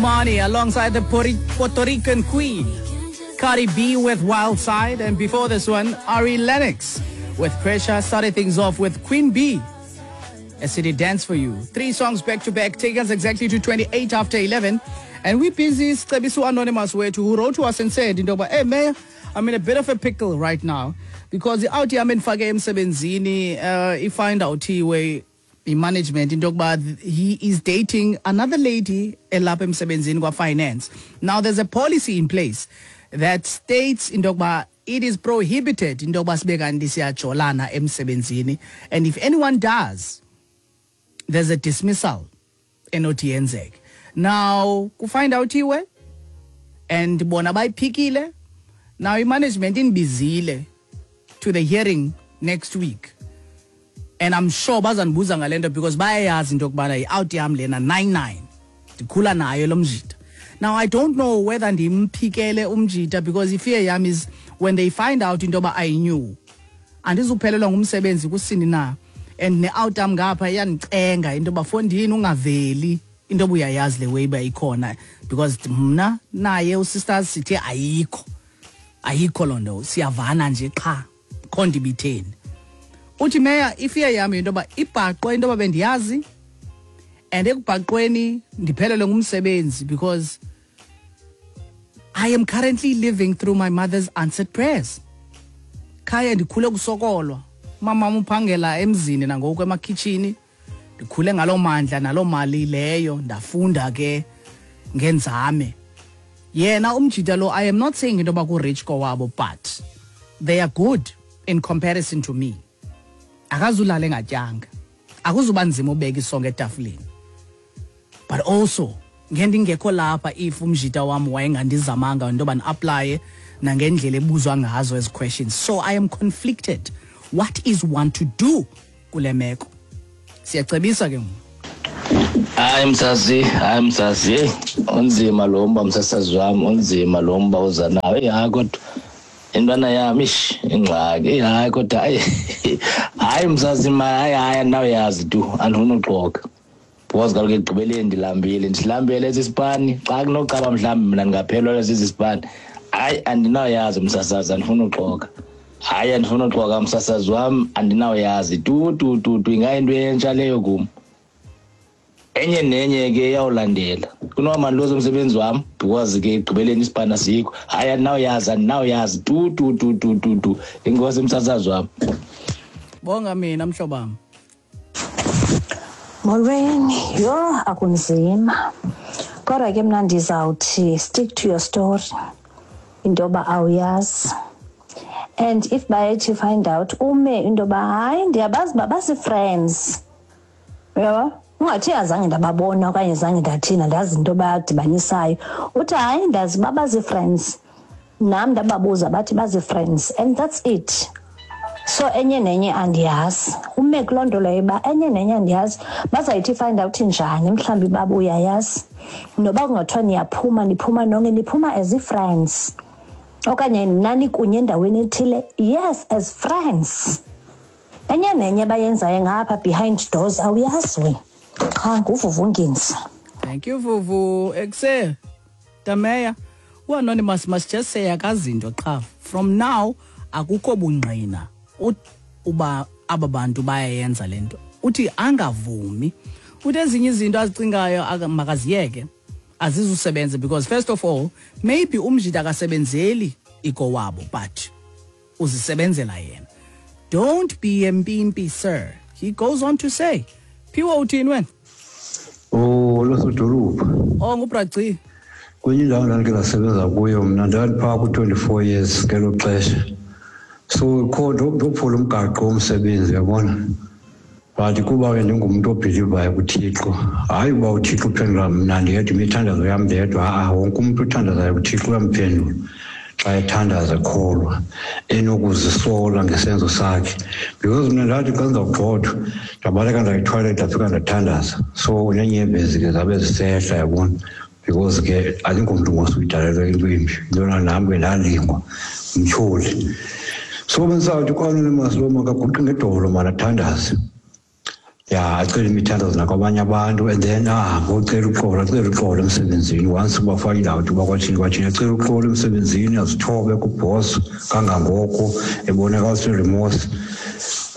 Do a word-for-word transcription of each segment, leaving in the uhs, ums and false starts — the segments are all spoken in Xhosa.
Money alongside the Puerto Rican Queen, Cardi B with Wild Side, and before this one, Ari Lennox with Pressure. Started things off with Queen B, A City Dance for You. Three songs back to back take us exactly to twenty-eight after eleven. And we busy Scebiso Anonymous wethu who wrote to us and said, into yoba, hey Mayor, I'm in a bit of a pickle right now because the out yam endifake emsebenzini uh ifind out way management into yokuba he is dating another lady elapha emsebenzini kwa finance. Now there's a policy in place that states into yokuba it is prohibited into yokuba sibe kanti siyajolana emsebenzini, and if anyone does, there's a dismissal enothi yenzeke. Now kufind out iwe and bona bayiphikile. Now i-management inibizile to the hearing next week, and I'm sure bazandibuza ngale nto because bayayazi into yokubana yi-out yam lena nine nine ndikhula nayo lo mjita. Now I don't know whether ndimphikele umjita because ifear yam is when they find out into yoba I knew, andizuphelelwa ngumsebenzi kusini na, and ne-out yam ngapha iyandicenga into yoba fondini ungaveli into yoba uyayazi le way uba ikhona, because mna naye usisters sithe ayikho ayikho loo nto, siyavana nje qha kho nto ibitheni. Uthi Meya, ifear yam yinto yoba ibhaqwe into yoba bendiyazi, and ekubhaqweni ndiphelelwe ngumsebenzi because I am currently living through my mother's answered prayers. Khaya ndikhule kusokolwa, umama uphangela emzini nangoku emakhitshini, ndikhule ngaloo mandla naloo mali leyo, ndafunda ke ngenzame. Yena umjita lo, I am not saying into yoba ku-rich kowabo, but they are good in comparison to me. Akazulala engatyanga, akuzuba nzima ubeka isonka etafileni, but also ngendingekho lapha if umjita wam wayengandizamanga into yoba ndi-aplaye nangendlela ebuzwa ngazo ezi questions. So I am conflicted. What is one to do kule meko? Siyacebisa ke ngoku. Hayi msasi, hayi msasi, hey, unzima lo mba msasazi wam, unzima lo mba uza nawo. Eyi hayi kodwa intwana yam ish ingxaki. Eyi hayi kodwa hayi hayi msasi ma hayi hayi andinawuyazi tu, andifuni uxoka. Because kaloku ekugqibeleni ndilambile, ndilambele esi sipani. Xa kunoqaba mhlawumbi mna ndingaphelelwa sesi sipani. Hayi andinawuyazi msasazi, andifuni uxoka. Hayi andifuni uxoka msasazi wam, andinawuyazi tu tu tu tu, ingayinto entsha leyo kum. Enye nenye ke iyawulandela. Kunoba mandiluze umsebenzi wam because ke ekugqibeleni isipani asikho. Hayi andinawuyazi, andinawuyazi tu tu tu tu tu tu. Enkosi msasazi wam. Bonga mina mhlobam. Molweni, yho akunzima. Kodwa ke mna ndizawuthi stick to your story. Into yoba awuyazi. And if bayethi find out ume into yoba hayi ndiyabazi uba basi-friends. Uyabo? Ungathi azange ndababona okanye zange ndathina, ndazi into badibanisayo. Uthi hayi ndazi uba bazi-friends. Nam ndababuza bathi bazi-friends and that's it. So enye nenye andiyazi. Ume kuloo nto leyo uba enye nenye andiyazi. Bazayithi find out njani mhlawumbi baba uyayazi. Noba kungathiwa niyaphuma, niphuma nonke, niphuma as i-friends. Okanye nani kunye endaweni ethile, yes, as friends. Enye nenye abayenzayo ngapha behind doors awuyazi wena. Qha nguVuvu Nginzi. Thank you Vuvu. Ekse Tameya, uAnonymous must just say akazinto qha. From now akukho bungqina uba aba bantu bayayenza le nto. Uthi angavumi. Uthi ezinye izinto azicingayo makaziyeke, azizusebenza because first of all maybe umjita akasebenzeli ikowabo but uzisebenzela yena. Don't be a mpimpi sir. He goes on to say. Phiwo uthini wena? Oh, losodolophu. Oh, nguBraci. Kwenye indawo ndandike ndasebenza kuyo mna ndandiphaa ku-twenty-four years ngelo xesha. So kho ndophula umgaqo womsebenzi uyabona. But kuba ke ndingumntu obhilivayo kuThixo, hayi uba uThixo uphendula mna ndedwa imithandazo yam ndedwa, ha-a wonke umntu othandazayo kuThixo uyamphendula xa ethandaza ekholwa enokuzisola ngesenzo sakhe. Because mna ndathi xa ndizawugxothwa ndabaleka ndaya ethoyilethi ndafika ndathandaza. So neenyembezi ke zabe zisehla yabona, because ke andingomntu ngosuyidalelwe into embi, intona nam ke ndalingwa ngumtyholi. So bendisawuthi ku-Anonymous lo makaguqe ngedolo mani athandaze. Ya, acele imithandazo nakwabanye abantu, and then ahambe ocela uxolo, acele uxolo emsebenzini. Once uba find out uba kwathini kwathini, acele uxolo emsebenzini, azithobe kubhosi kangangoko ebonakalisa remorse.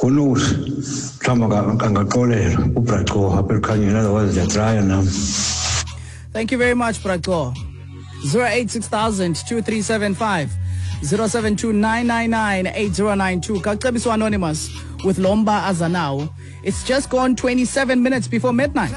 Who knows, mhlawumbi angaxolelwa. Ubraco apha Elikhanyeni, otherwise ndiyatraya nam. Thank you very much, Braco. zero eight six thousand two three seven five, zero seven two nine nine nine eight zero nine two. Kacebiso Anonymous with lo mba aza nawo. It's just gone twenty-seven minutes before midnight.